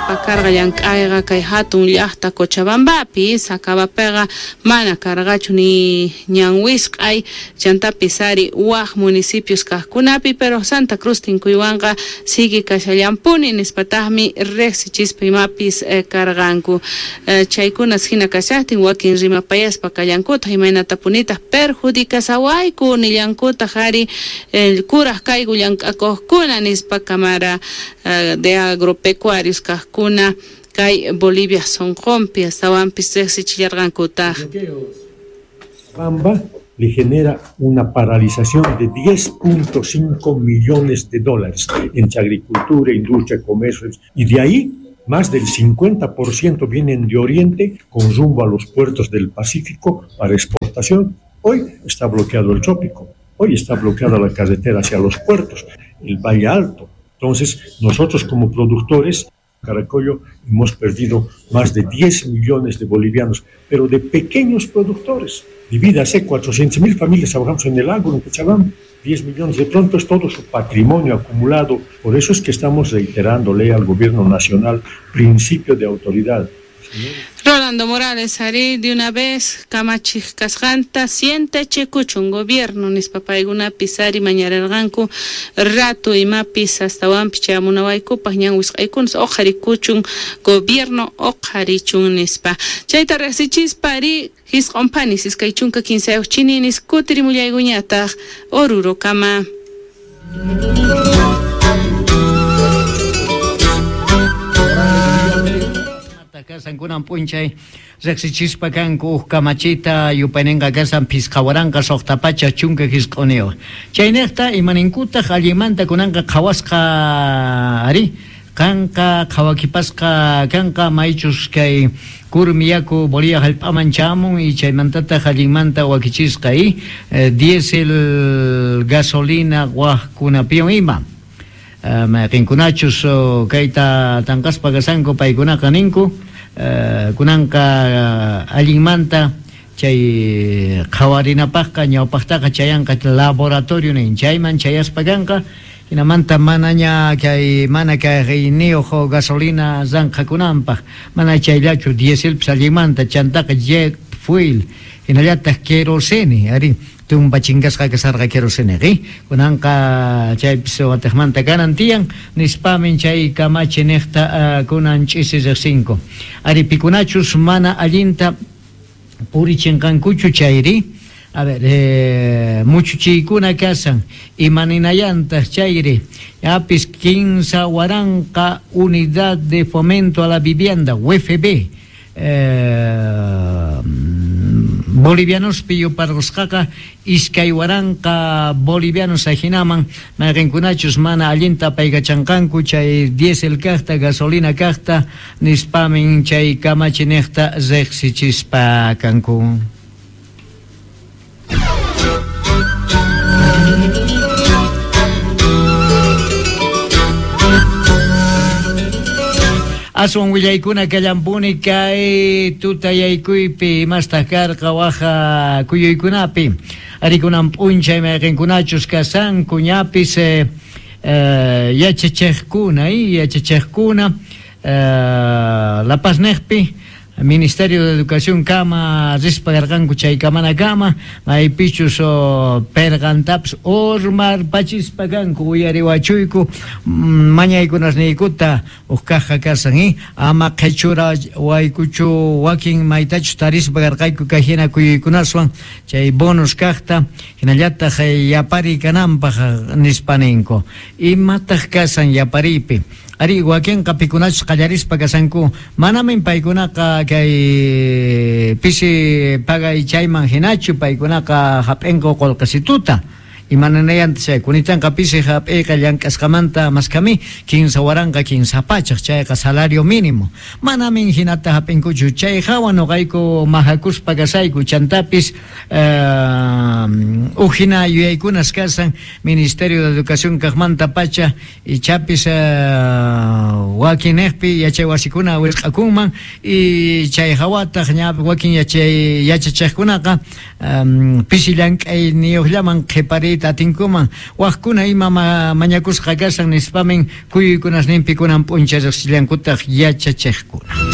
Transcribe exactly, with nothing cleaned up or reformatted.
qallarispa karqa llank'ayqa kay hatun llaqta Cochabambapi, Sacabapiqa mana karqachu ni ñan wisq'ay, chantapis ari waq municipios kaqkunapi, pero Santa Cruz tinkuywanqa sigue kashallampuni nispataqmi riqsichispa imapis karqanku. Chaykunas hina kashaqtin wakin rimapayaspa kallankutaq imaynatapunitaq perjudicasawayku nillankutaq ari kuraq kayku llank'akuqkuna nispa Cámara de Agropecuarios kaqkuna kay Bolivia sonqonpi astawanpis riqsichillarqankutaq. Bamba le genera una paralización de diez punto cinco millones de dólares entre agricultura, industria, comercio, y de ahí más del cincuenta por ciento vienen de Oriente con rumbo a los puertos del Pacífico para exportación. Hoy está bloqueado el trópico, hoy está bloqueada la carretera hacia los puertos, el Valle Alto. Entonces, nosotros como productores, Caracollo, hemos perdido más de diez millones de bolivianos, pero de pequeños productores. Divídase, cuatrocientas mil familias trabajamos en el agro, en Cochabamba, diez millones, de pronto es todo su patrimonio acumulado. Por eso es que estamos reiterándole al gobierno nacional principio de autoridad. Rolando Morales, ari de una vez kamachiq kasqanta siente chikuchun gobierno nispa paykunapis ari mañararqanku rato imapis astawanpis chayamunawaykupaq ñan wisq'aykunas uqharikuchun gobierno uqharichun nispa. Chayta riqsichispa ari hisq'unpanis iskay chunka kinsayuq chininis kutirimullaykuñataq Orurokama. Kasan kunan p'unchay riqsichispa kanku uj kamachita yupayninqa kasan phisqa waranqa suqta pacha chunka hisq'uniyuq. Chayniqta imaninkutaq allinmanta kunanqa qhawasqa ari kanqa qhawakipasqa kanqa maychus kay kurmi yaku Bolivia hallp'aman chamun y chaymantataq allinmanta wakichisqa y diésel gasolina waqkunapiwan ima. Mayqinkunachus kayta tanqaspa kasanku paykunaqa ninku kunanqa allinmanta chay qhawarinapaqqa ñawpaqtaqa chayanqa laboratorio nin chayman chayaspa kanqa hinamanta manaña kay mana kayniyuq gasolina ranqakunanpaq mana chayllachu dieselpis allinmanta chantaqa jet fuel hinallataq querosene ari tumba chingasqa kasarqa querosene qi kunanqa chaypis wataqmanta kanan tiyan nispamin chay kamachi niqta kunan ch'isi riqsinku ari pikunachus mana allinta purichinqankuchu chayri a ver eh, muchuchiykuna kasan imaninayantaq chayri yapis kinsa waranqa unidad de fomento a la vivienda U F B eh, bolivianospi yuparqusqaqa iskay waranqa bolivianos ajinaman mayqinkunachus mana allinta paykachanqanku chay diésel kaqta gasolina kaqta nispamin chay kamachi niqta riqsichispa kanku. Aswan willaykuna kallampuni kay tutayaykuypi imastaq karqa waja kuyuykunapi arikunan p'unchay mayqinkunachus kasanku ñapis eh, eh, yachachiqkuna y yachachiqkuna eh, La Paz niqpi Ministerio de Educación kama rispa karqanku chay kamana kama maypichus perqantapis urmarpachispa kanku uyariwachuyku mañaykunasniykuta uj kaqqa kasan y ama qhichura waykuchu wakin maytachus tarispa karqayku kay hina kuyuykunaswan chay bonus kaqta hinallataq yapariy kananpaq nispa ninku. Imataq kasan yapariypi ari wakinqa pikunachus qallarispa kasanku manamin paykunaqa kay pisi pagay chayman hinachu paykunaqa hap'inku qullqisituta imananayanta chay kunitanqa pisi hap'iyqa llank'asqamanta maskami kinsa waranqa kinsa pachaq chayqa salario mínimo manamin hinata hap'inkuchu chay hawa nuqayku mahakuspa kasayku chantapis eh, uj hina yuyaykunas kasan Ministerio de Educación kaqmanta pacha ichapis eh, Wakinniqpi yachay wasikuna wisq'akunman y chay hawataq ña wakin yachay yachachiqkunaqa um, pisi llank'ayniyuqllaman qhipariyta atinkuman waqkuna ima ma, mañakusqa kashan nispamin kuyuykunasninpi kunan p'unchay riqsillankutaq yachachiqkuna.